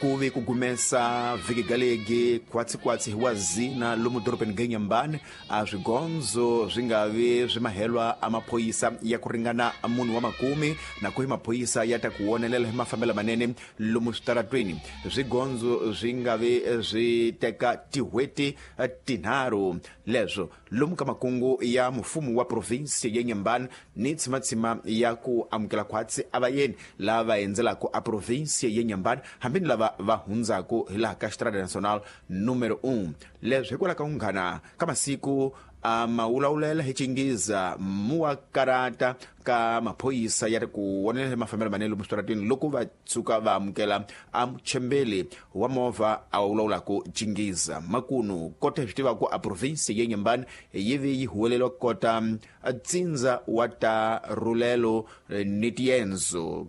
Ku ve ku gumesa vhiki galegi khwatsikhwatsi hi wa zina lomu dorobeni ga Inhambane, a swigondzo swi nga vi swi mahelwa a maphorisa ya ku ringana munhu wa makume, na ku hi maphorisa ya ta ku wonelela hi mafambelo manene lomu switaratweni. Swigondzo swi nga vi swi teka tin'hweti tinharhu leswo lomu ka makungu ya mufumo wa provinsi ya Inhambane ni tshimatshima ya ku amukela khwatsi a vayeni lava va endzelaka a provinsi ya Inhambane, hambi ni lava va hundzaka hi laha ka Estrada Nacional número 1. Leswi hikwalaho ka ku nghana ka masiku a ma wulawulela hi Chingiza muwa karata ka maphorisa ya ri ku wonelela mafambelo manene lomu switarateni loko va tshuka va amukela a muchembeli wa movha a wulawulaka Chingiza. Makunu kota hi swi tivaka, a provinsi ya Inhambane yi vi yi huweleriwa kota tsindza wa ta rulelo ni tiendzo,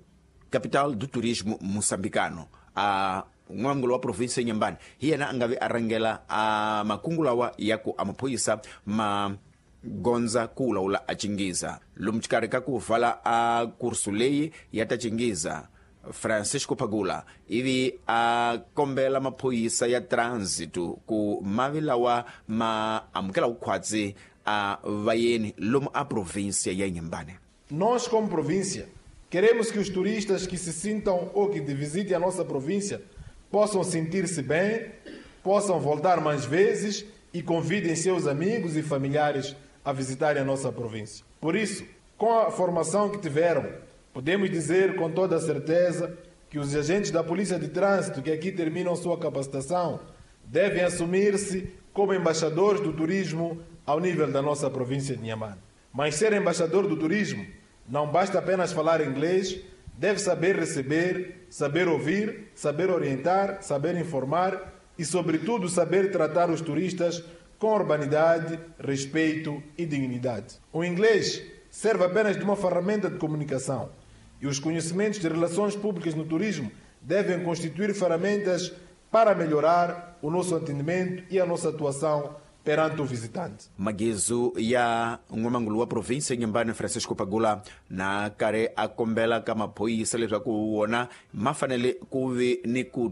capital do turismo moçambicano. A n'wangulu wa provinsi ya Inhambane hi yena a nga vi a rhangela a makungu lawa ya ku a maphorisa ma gondza ku wulawula a Chingiza lomu xikarhi ka ku vala a kursu leyi ya ta Chingiza. Francisco Pagula ivi a kombela maphorisa ya transit ku mavi lawa ma amukela vukhwatsi a vayeni lomu a província ya Inhambane. Nós, como província, queremos que os turistas que se sintam ou que visitem a nossa província possam sentir-se bem, possam voltar mais vezes e convidem seus amigos e familiares a visitarem a nossa província. Por isso, com a formação que tiveram, podemos dizer com toda a certeza que os agentes da Polícia de Trânsito que aqui terminam sua capacitação devem assumir-se como embaixadores do turismo ao nível da nossa província de Inhambane. Mas ser embaixador do turismo não basta apenas falar inglês, deve saber receber, saber ouvir, saber orientar, saber informar e, sobretudo, saber tratar os turistas com urbanidade, respeito e dignidade. O inglês serve apenas de uma ferramenta de comunicação e os conhecimentos de relações públicas no turismo devem constituir ferramentas para melhorar o nosso atendimento e a nossa atuação perante o visitante. Magizu ya n'wamangulu wa provinsi ya Inhambane Francisco Pagula na karhi a kombela ka maphorisa leswaku wona ma fanele ku vi ni ku